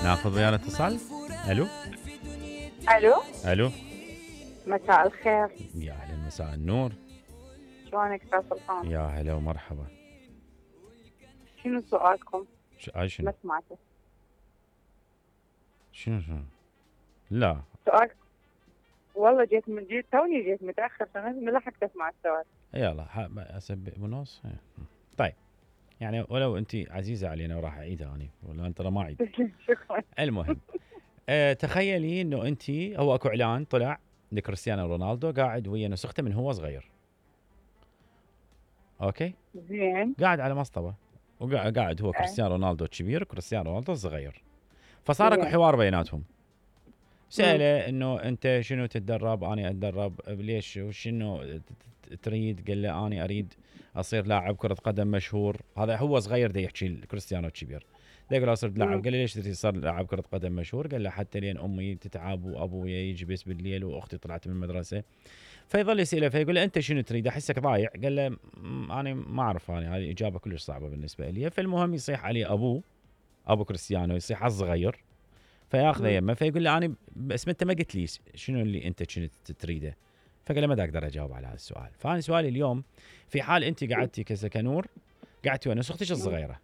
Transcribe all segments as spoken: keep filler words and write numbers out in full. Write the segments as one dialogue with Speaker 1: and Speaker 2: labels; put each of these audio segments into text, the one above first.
Speaker 1: ناخذ ويانا اتصال. الو
Speaker 2: الو
Speaker 1: الو
Speaker 2: مساء الخير.
Speaker 1: يا اهلا مساء النور.
Speaker 2: شلونك استاذ سلطان؟
Speaker 1: يا هلا ومرحبا.
Speaker 2: شنو سؤالكم؟
Speaker 1: ش... اي شنو
Speaker 2: ما سمعته.
Speaker 1: شنو شنو لا
Speaker 2: سؤال والله جيت من جيت توني جيت متاخر ما لحقت اسمع السؤال.
Speaker 1: يلا اسبق ونص. طيب يعني ولو انت عزيزه علينا وراح اعيدها انا ولا انت ما اعيد.
Speaker 2: شكرا.
Speaker 1: المهم أه تخيلي انه انت هو اكو اعلان طلع لكريستيانو رونالدو قاعد ويا نسخته من هو صغير. اوكي
Speaker 2: زين.
Speaker 1: قاعد على مصطبه وقاعد هو كريستيانو رونالدو كبير وكريستيانو رونالدو صغير. فصار اكو حوار بيناتهم. سأله انه انت شنو تتدرب؟ انا اتدرب. ليش وشنو تريد؟ قال له انا اريد اصير لاعب كرة قدم مشهور. هذا هو صغير دا يحكي كريستيانو الكبير. دا يقول صرت لاعب. قال له ليش تريد تصير لاعب كرة قدم مشهور؟ قال له حتى لين امي تتعب وابويا يجي بس بالليل واختي طلعت من المدرسة. فيظل يسأله فيقول له انت شنو تريد؟ احسك ضايع. قال له انا ما اعرف، انا هذه اجابة كلش صعبة بالنسبة لي. فالمهم يصيح عليه ابوه ابو كريستيانو، يصيح على الصغير فياخذه يمه فيقول له انا بس انت ما قلت لي شنو اللي انت كنت تريده. فقال له ما اقدر اجاوب على هذا السؤال. فانا سؤالي اليوم في حال انت قعدتي كسكنور قعدتي ويا نسختك الصغيره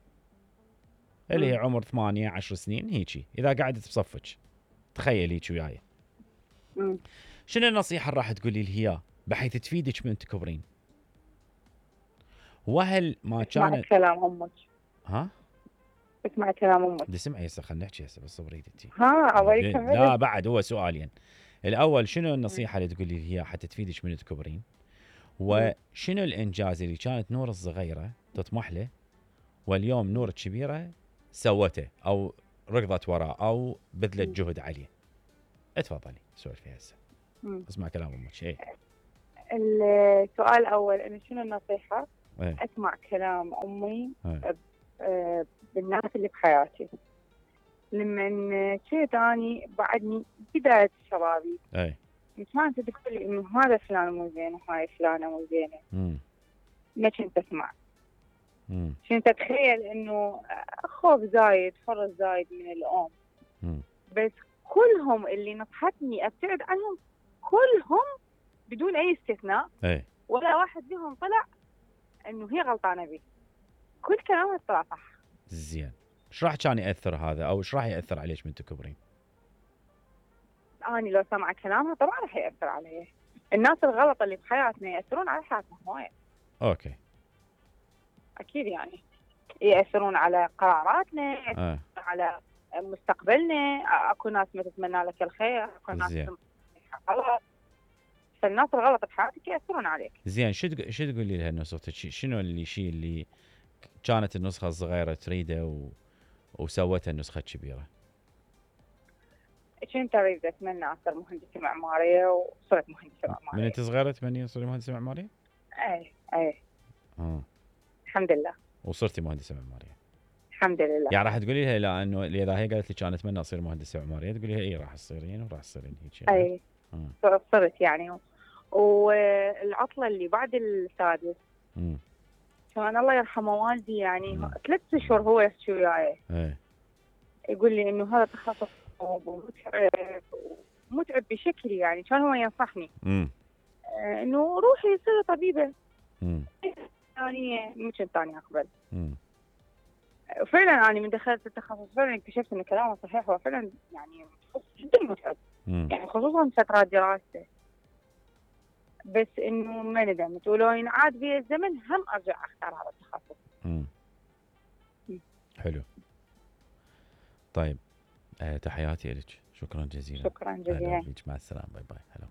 Speaker 1: اللي هي عمر ثمانية عشر سنين هيجي، اذا قعدت بصفك تخيل هيك وياي، شنو النصيحه اللي راح تقولي لي اياها بحيث تفيدك من تكبرين؟ وهل ما كانت
Speaker 2: اسمع كلام امك؟
Speaker 1: ها
Speaker 2: اسمع كلام امك.
Speaker 1: بدي اسمعي هسه، خلينا نحكي هسه بس صبري انتي.
Speaker 2: ها ابغى كمل.
Speaker 1: لا بعد هو سؤالين. الاول شنو النصيحه اللي تقولي لي اياها حتى تفيدك من تكبرين؟ وشنو الانجاز اللي كانت نور الصغيره تطمح له واليوم نور الكبيره سوته او ركضت وراه او بذلت جهد عليه؟ اتفضلي سولفي هسه. اسمع كلام امك. ايه
Speaker 2: السؤال الاول انه شنو النصيحه؟
Speaker 1: ايه؟
Speaker 2: اسمع كلام امي.
Speaker 1: ايه؟
Speaker 2: بالناس اللي بحياتي لما كنت اني بعدني بدايه شبابي.
Speaker 1: اي
Speaker 2: كانت تقول لي انه هذا فلان مو زين وهاي فلانه مو زينه. ما كنت اسمع.
Speaker 1: امم
Speaker 2: كنت اتخيل انه خوف زايد فرص زايد من الام.
Speaker 1: مم.
Speaker 2: بس كلهم اللي نصحتني ابتعد عنهم كلهم بدون اي استثناء.
Speaker 1: اي
Speaker 2: ولا واحد منهم طلع انه هي غلطانه بي. كل كلامها طلع صح.
Speaker 1: زين. ايش راح كان ياثر هذا او ايش راح ياثر عليك من تكبرين؟
Speaker 2: اني لو سمع كلامها طبعا راح ياثر علي. الناس الغلط اللي بحياتنا ياثرون على حياتنا وايد.
Speaker 1: اوكي
Speaker 2: اكيد يعني ياثرون على قراراتنا.
Speaker 1: آه.
Speaker 2: على مستقبلنا. اكو ناس ما تتمنى لك الخير، اكو ناس غلط. فالناس الغلط بحياتك ياثرون عليك.
Speaker 1: زين. شو شو تقولي لها نسختك؟ شنو اللي شيء اللي كانت النسخه الصغيره تريده و... وسوتها النسخه الكبيره؟
Speaker 2: كنت اريد اتمنى اصير مهندسه معماريه وصرت مهندسه معماريه.
Speaker 1: من انت صغيره تمني تصيري مهندسه معماريه؟
Speaker 2: اي اي
Speaker 1: اه
Speaker 2: الحمد لله.
Speaker 1: وصرتي مهندسه معماريه؟
Speaker 2: الحمد لله.
Speaker 1: يعني راح تقولي لها لا انه اذا هي قالت لك انا اتمنى اصير مهندسه معماريه تقولي لها اي راح تصيرين وراح تصيرين هيك؟
Speaker 2: اي آه. صرت يعني. والعطله اللي بعد السادس
Speaker 1: امم
Speaker 2: كان الله يرحمه والدي يعني ثلاث اشهر هو يحكي وياي.
Speaker 1: ايه
Speaker 2: يقول لي انه هذا تخصص ومتعب ومتعب بشكل يعني كان هو ينصحني
Speaker 1: امم
Speaker 2: آه انه روحي صيري طبيبه.
Speaker 1: امم
Speaker 2: ثانيه مو كنت ثاني اقبل.
Speaker 1: امم
Speaker 2: فعلا انا من دخلت التخصص فعلا اكتشفت ان كلامه صحيح. هو فعلا يعني جدا متعب.
Speaker 1: مم.
Speaker 2: يعني خصوصا فترات دراسته. بس انه ما ندمت ولو ينعاد بي الزمن هم ارجع اختار هذا التخصص.
Speaker 1: امم حلو. طيب أه تحياتي لك. شكرا جزيلا.
Speaker 2: شكرا جزيلا.
Speaker 1: مع السلامه. باي باي. هلا.